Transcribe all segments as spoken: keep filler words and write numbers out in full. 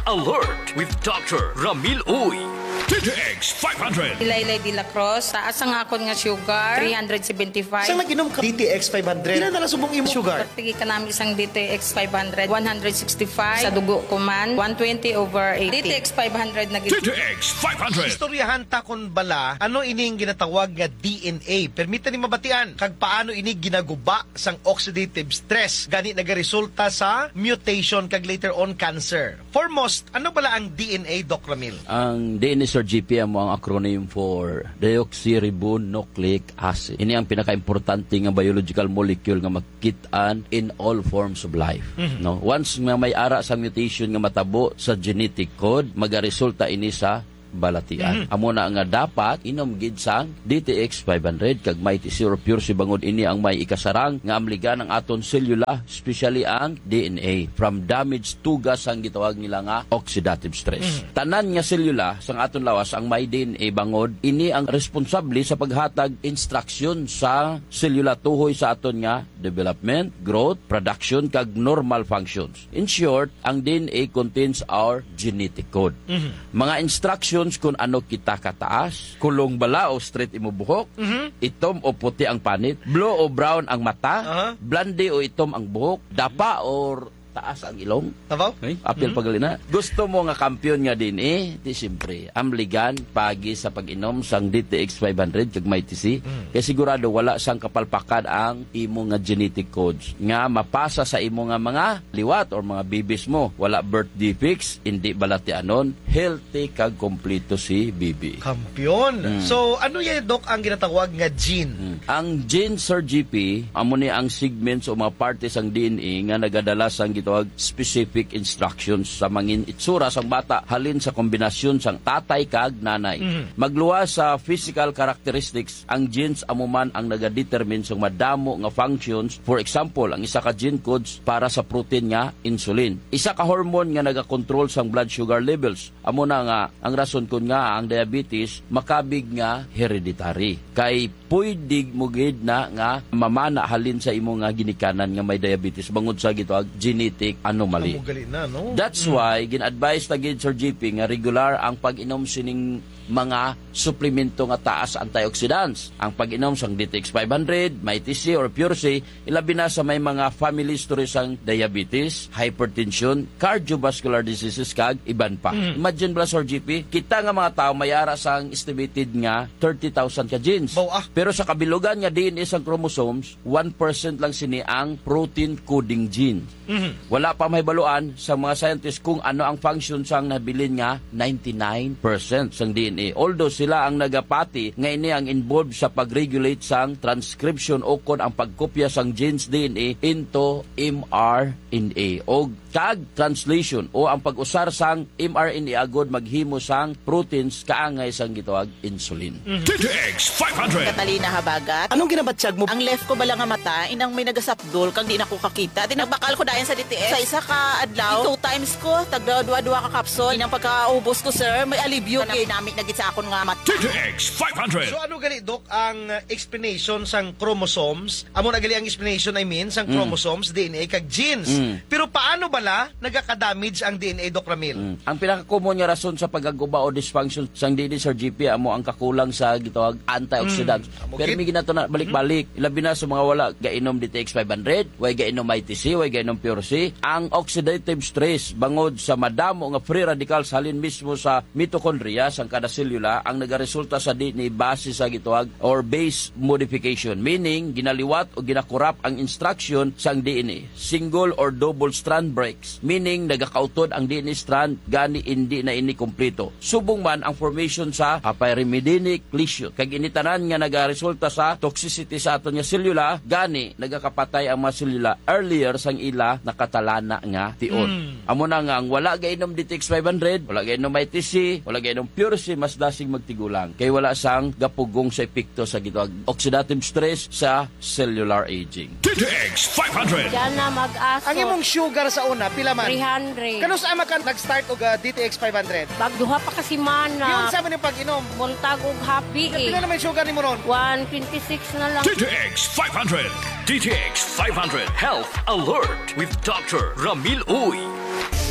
Alert with Doctor Ramil Uy. D T X five hundred. Ilaylay de la Cruz, taas ang akon nga sugar, three hundred seventy-five. Sa nag-inom ka D T X five hundred, pila na lang subong imong sugar? Sige ka namin isang D T X five hundred, one hundred sixty-five. Sa dugo ko man, one twenty over eighty. D T X five hundred na gid. D T X five hundred. Istoryahan ta kon bala, ano ining ginatawag nga D N A? Permita ni mabatian, kag paano ini ginaguba sang oxidative stress, gani nagaresulta sa mutation kag later on cancer. Foremost, ano bala ang D N A, Doc Ramil? Ang D N A, Sir G P, amo ang acronym for deoxyribonucleic acid. Ini ang pinakaimportante nga biological molecule nga makit-an in all forms of life. Mhm. No? Once nga may ara sa mutation nga matabo sa genetic code, magaresulta ini sa balatian. Mhm. Amo na nga dapat inom gid sang D T X five hundred kag Mighty C or Pure C bangod ini ang may ikasarang nga amligan ang aton selula, especially ang D N A, from damaged tugas sang gitawag nila nga oxidative stress. Mhm. Tanan nga selula sang aton lawas ang may D N A bangod ini ang responsable sa paghatag instruction sa selula tuhoy sa aton nga development, growth, production, kag normal functions. In short, ang D N A contains our genetic code. Mhm. Mga instructions kung ano kita kataas, kulong bala o straight imo buhok, Mhm. itom o puti ang panit, blue o brown ang mata, Aha. blonde o itom ang buhok, dapa or taas ang ilong. Tabaw? Ay? Apil Mhm. pa gali na. Gusto mo nga kampiyon nga D N A? Di siyempre. Amligan, pagi sa pag-inom sang D T X five hundred kag Mighty C. Mm. Kay sigurado wala sang kapalpakan ang imo nga genetic codes nga mapasa sa imo nga mga liwat or mga babies mo. Wala birth defects, hindi balatianon, healthy kag kompleto si baby. Kampiyon. Mm. So, ano yan, Doc, ang ginatawag nga gene? Mm. Ang gene, Sir G P, amo ni ang segments o mga parte sang D N A nga nagadala sang gitawag specific instructions sa mangin itsura sang bata halin sa kombinasyon sang tatay kag nanay. Mhm. Magluwas sa physical characteristics, ang genes amo man ang nagadetermine sang madamo nga functions. For example, ang isa ka gene codes para sa protein nga insulin. Isa ka hormone nga nagakontrol sang blood sugar levels. Amo na nga ang rason kon ngaa ang diabetes makabig nga hereditary. Kay pwede mo gid na nga mamana halin sa imo nga ginikanan nga may diabetes bangod sa gitawag genetic anomaly. Amo gali na, no? That's Mm. why gin-advise ta gid, Sir G P, nga regular ang pag-inom sining mga suplemento nga taas antioxidants. Ang pag-inom sang D T X five hundred, Mighty C or Pure C, ilabi na sa may mga family history sang diabetes, hypertension, cardiovascular diseases, kag iban pa. Mm. Imagine bala, Sir G P, kita nga mga tawo may ara sang estimated nga thirty thousand ka genes. Baw, ah. Pero sa kabilugan nga D N A sang chromosomes, one percent lang sini ang protein coding gene. Mhm. Wala pa mahibaluan sa mga scientist kung ano ang function sang nabilin nga ninety-nine percent sang D N A. Although sila ang nagapati nga ini ang involved sa pag-regulate sang transcription o kon ang pagkopya sang genes D N A into M R N A o kag translation o ang pag-usar sang M R N A agod maghimo sang proteins kaangay sang gitawag insulin. Mhm. D T X five hundred. Catalina Habagat. Anong ginabatyag mo? Ang left ko bala nga mata, inang may nagasapdol, kag di na ko kakita. Di nagbakal ko dayon sa D T X. Sa isa ka adlaw, two times ko, tagda dua-dua ka capsule. Inang pagkaubos ko, sir, may alibyo. Kanami-nami na gid sa akon nga mata. D T X five hundred. So, ano gali, Doc, ang, uh, explanation sang chromosomes? Amo na gali ang explanation, I mean, sang Mm. chromosomes, D N A, kag genes. Mm. Pero paano bala nagaka-damage ang D N A, Doc Ramil? Mm. Ang pinaka-common nga rason sa pagkaguba o dysfunction sang D N A, Sir G P, amo ang kakulang sa gitawag antioxidants. Mm. Amo Pero gid. may ginato na balik-balik, labi na sa mga wala gainom D T X five hundred, way gainom I T C, way gainom Pure C. Ang oxidative stress bangod sa madamo nga free radicals halin mismo sa mitochondria sang kada selula ang nagaresulta sa D N A base sa gitawag or base modification, meaning ginaliwat o ginakurap ang instruction sang D N A. Single or double strand breaks, meaning nagakautod ang D N A strand, gani indi na ini kompleto. Subong man ang formation sa hyperimidinic lesion. Kag ini tanan nga nagaresulta sa toxicity sa aton nga selula, gani nagakapatay ang mga selula earlier sang ila nakatalana nga tion. Mm. Amo na nga ang wala gainom D T X five hundred, wala gainom I T C, wala gainom Pure C, mas dasig magtigulang kay wala sang gapugong sa epekto sa gitawag oxidative stress sa cellular aging. D T X five hundred. Diyan na mag-aso. Ang imong sugar sa una, pila man? Three hundred. Kanus-a man ka nag-start og, ah, D T X five hundred? Pag duha pa ka semana. Yun sa man yung pag-inom? Buntag og happy eh. Pila naman yung sugar ni mo ron? One twenty-six na lang. D T X five hundred. D T X five hundred Health Alert with Doctor Ramil Uy.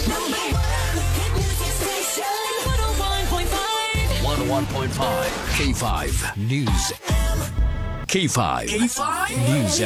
Number one hit music. one point five K five News. K five K five News.